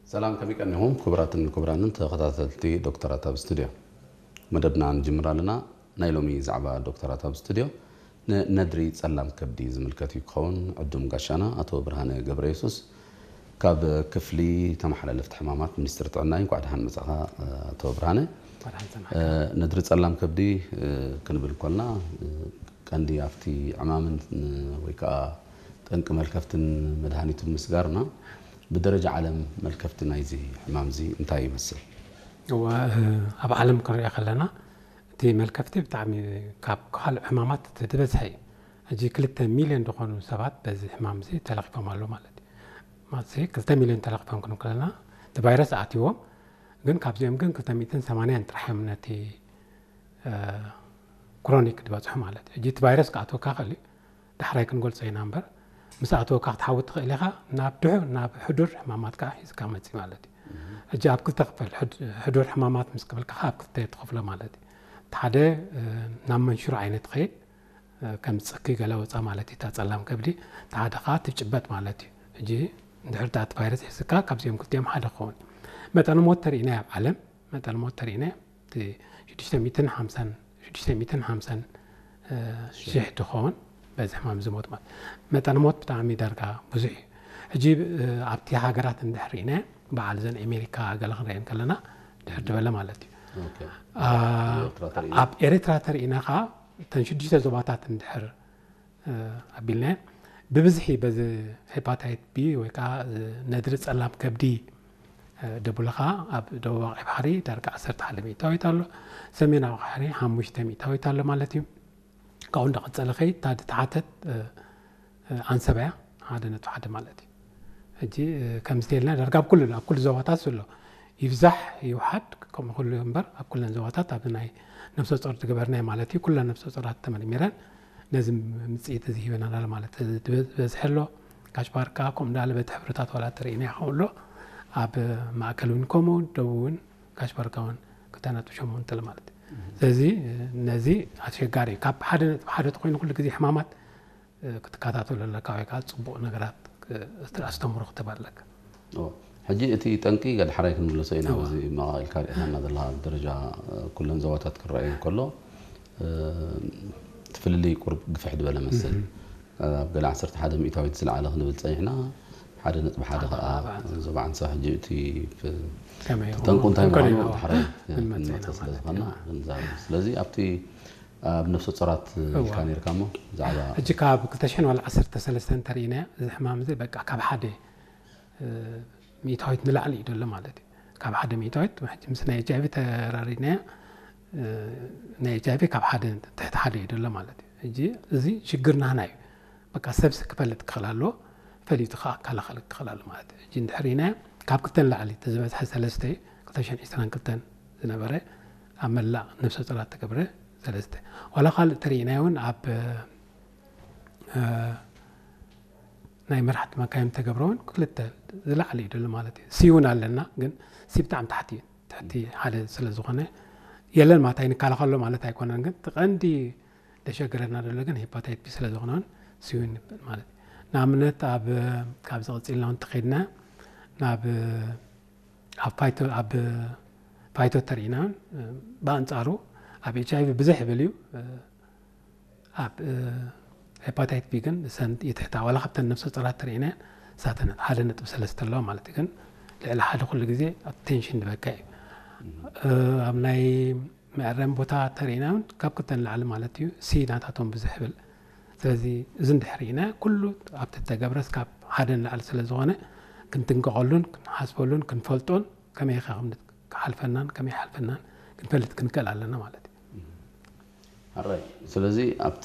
ሰላም፣ ከመይ ቀኒኹም ክቡራትን ክቡራንን ተኸታተልቲ ዶክተራት ኣብ ስቱድዮ? መደብና ንጅምር ኣለና። ናይ ሎሚ ዛዕባ ዶክተራት ኣብ ስቱድዮ ንነድሪ ጸላም ከብዲ ዝምልከት እዩ ክኸውን። ዕዱም ጋሻና ኣቶ ብርሃነ ገብረ የሱስ ካብ ክፍሊ ተመሓላለፍቲ ሕማማት ሚኒስትሪ ጥዕና እዩ። እንኳዕ ደሓን መጻኻ ኣቶ ብርሃነ። ነድሪ ጸላም ከብዲ ክንብል እንኮልና ቀንዲ ኣብቲ ዕማምን ወይ ከዓ ጠንቂ መልከፍትን መድሃኒቱን ምስጋርና፣ ብደረጃ ዓለም መልከፍቲ ናይዚ ሕማም እዚ እንታይ ይመስል? እወ፣ ኣብ ዓለም ክንሪኦ ከለና እቲ መልከፍቲ ብጣዕሚ ካብ ካልእ ሕማማት እቲ ዝበዝሐ እዩ። ሕጂ ክልተ ሚልዮን ዝኾኑ ሰባት በዚ ሕማም እዚ ተለኺፎም ኣለዉ ማለት እዩ። ማለት ክልተ ሚልዮን ተለኺፎም ክንብል ከለና እቲ ቫይረስ ኣትይዎም፣ ግን ካብዚኦም ግን ክልተ ሚእትን ሰማንያን ጥራሕ እዮም ነቲ ክሮኒክ ዝበፅሑ ማለት እዩ። ሕጂ እቲ ቫይረስ ክኣትወካ ክእል እዩ፣ ዳሕራይ ክንገልፆ ኢና እምበር፣ ምስ ኣተወካ ክትሓዊ ትኽእል ኢኻ። ናብ ድሑ ናብ ሕዱር ሕማማት ከዓ ሒዝካ መፂ ማለት እዩ። ሕጂ ኣብ ክልተ ክፈል ሕድ- ሕዱር ሕማማት ምስ ክብልካ ከዓ ኣብ ክልተ ትኸፍሎ ማለት እዩ። እቲ ሓደ ናብ መንሽሮ ዓይነት ትኸይድ፣ ከም ፅኪ ገለ ወፃ ማለት እዩ። እታ ፀላም ከብዲ እቲ ሓደ ከዓ ትጭበጥ ማለት እዩ። ሕጂ እንድሕር እቲ ቫይረስ ሒዝካ ካብዚኦም ክልቲኦም ሓደ ክኸውን እዩ። መጠነ ሞት ተሪእና ኣብ ዓለም መጠነ ሞት ተሪእና እቲ ሽዱሽተ ሚእትን ሓምሳን ሽዱሽተ ሚእትን ሓምሳን ሽሕ ትኸውን በዚ ሕማም ዝሞት ማለት መጠነ ሞት ብጣዕሚ ዳርጋ ብዙሕ እዩ። ሕጂ ኣብቲ ሃገራት እንድሕር ርኢና በዓል ዘን ኣሜሪካ ገለ ክንሪአን ከለና ድሕር ዝበለ ማለት እዩ። ኣብ ኤርትራ ተሪእና ከዓ እተን ሽዱሽተ ዞባታት እንድሕር ኣቢልና ብብዝሒ በዚ ሄፓታይት ቢ ወይ ከዓ ነድሪ ጸላም ከብዲ ደቡለ ከዓ ኣብ ደቡባዊ ባሕሪ ዳርጋ ዓሰርተ ሓደ ሚእታዊት ኣሎ። ሰሜናዊ ባሕሪ ሓሙሽተ ሚእታዊት ኣሎ ማለት እዩ። ካብኡ እንዳቐጸለ ከይድ እታ ዝተሓተት ኣንሰብ እያ፣ ሓደ ነጥቢ ሓደ ማለት እዩ። ሕጂ ከምዚ ተልና ዳርጋ ኣብ ኩሉ ኣብ ኩሉ ዞባታት ዘሎ ይብዛሕ ይውሓድ ከምኡ ኩሉ እምበር ኣብ ኩለን ዞባታት ኣብ ናይ ነፍሰ ጾር ዝገበርናይ ማለት እዩ። ኩለን ነፍሰ ጾራት ተመርሚረን ነዚ ምጽኢት እዚ ሂበና ኣሎ ማለት ዝበዝሐ ኣሎ። ካሽ ባርካ ከምኡ እንዳለ በቲ ሕብርታት ዋላ ተርእና ይኸውን ኣሎ። ኣብ ማእከል እውን ከምኡ ደቡብ እውን ካሽ ባርካ እውን ክልተ ነጥቢ ሸሞንተ ማለት እዩ። ስለዚ ነዚ ኣሸጋሪ እዩ። ካብ ሓደ ነጥቢ ሓደ ተኮይኑ ኩሉ ግዜ ሕማማት ክትከታተሉ ኣለካ ወይ ከዓ ፅቡቅ ነገራት ኣስተምሮ ክትህብ ኣለካ። ሕጂ እቲ ጠንቂ ገድሓራይ ክንምለሶ ኢና። እዚ መቃልካ ሪእና ዘለና ዘለካ ደረጃ ኩለን ዞባታት ክረኣዩ ከሎ እቲ ፍልልይ ቁርብ ግፍሕ ዝበለ መስል ኣብ ገለ ዓሰርተ ሓደ ሚእታዊት ዝለዓለ ክንብል ፀኒሕና ሓደ ነጥቢ ሓደ ከዓ ዞባ ዓንሳ ሕጂ እቲ ጠንቁ እንታይ ምኳኑ ድሓራይ ክንመፀ ስለ ዝኾና ክንዛረብ። ስለዚ ኣብቲ ኣብ ነፍሰ ጾራት ኢልካ ነርካ እሞ ብዛዕባ ሕጂ ካብ ክልተ ሽሕን ዋላ ዓሰርተ ሰለስተን እንተርኢናዮ እዚ ሕማም እዚ በቃ ካብ ሓደ ሚእታዊት ንላዕሊ እዩ ዘሎ ማለት እዩ። ካብ ሓደ ሚእታዊት ሕጂ ምስ ናይ ኤች ኣይቪ ተራሪድናዮ ናይ ኤች ኣይቪ ካብ ሓደ ትሕቲ ሓደ እዩ ዘሎ ማለት እዩ። ሕጂ እዚ ሽግር ናህና እዩ። በቃ ሰብሲ ክፈልጥ ክኽእል ኣለዎ፣ ፈሊጡ ከዓ ክከላኸል ክኽእል ኣለዎ ማለት እዩ። ሕጂ እንድሕር ኢናዮ ካብ ክልተ ንላዕሊ እቲ ዝበዝሐ ሰለስተ እዩ። ክልተ ሽሕን ዕስራን ክልተን ዝነበረ ኣብ መላእ ነፍሰ ጾራት ተገብረ ሰለስተ። ዋላ ካልእ ተርኢናዮ እውን ኣብ ናይ መራሕቲ መካይን ተገብረ እውን ክልተ ዝላዕሊ እዩ ደሎ ማለት እዩ። ሲ እውን ኣለና ግን ሲ ብጣዕሚ ታሕቲ እዩ። ትሕቲ ሓደ ስለ ዝኾነ የለን ማለት ኣይንከላኸሎ ማለት ኣይኮነን። ግን እቲ ቀንዲ ደሸገረና ደሎ ግን ሄፓታይት ቢ ስለ ዝኾነ እውን ሲ እውን ይበል ማለት እዩ። ንኣብነት ኣብ ካብዚ ቀፂልና እውን ተኸይድና ናብ ኣብ ፋይቶ ኣብ ፋይቶ ተርኢና እውን ብኣንፃሩ ኣብ ኤች ኣይቪ ብዝሕ ይብል እዩ። ኣብ ሄፓታይት ቢ ግን ሰን ይትሕታ ዋላ ካብተን ነፍሰ ጾራት ተርእና ሳተን ሓደ ነጥቢ ሰለስተ ኣለዋ ማለት ግን ልዕሊ ሓደ ኩሉ ግዜ ኣቴንሽን ዝበካ እዩ። ኣብ ናይ መዕረም ቦታ ተርእና እውን ካብ ክልተ ንላዕሊ ማለት እዩ። ሲ ናታቶም ብዙሕ ይብል። ስለዚ እዚ እንድሕር ኢና ኩሉ ኣብቲ ተገብረስ ካብ ሓደ ንላዕሊ ስለ ዝኾነ ክንጥንቀቐሉን ክንሓስበሉን ክንፈልጦን ከመይ ኢኻ ክሓልፈናን ከመይ ሓልፈናን ክንፈልጥ ክንክእል ኣለና ማለት እዩ። ኣራይ ስለዚ ኣብቲ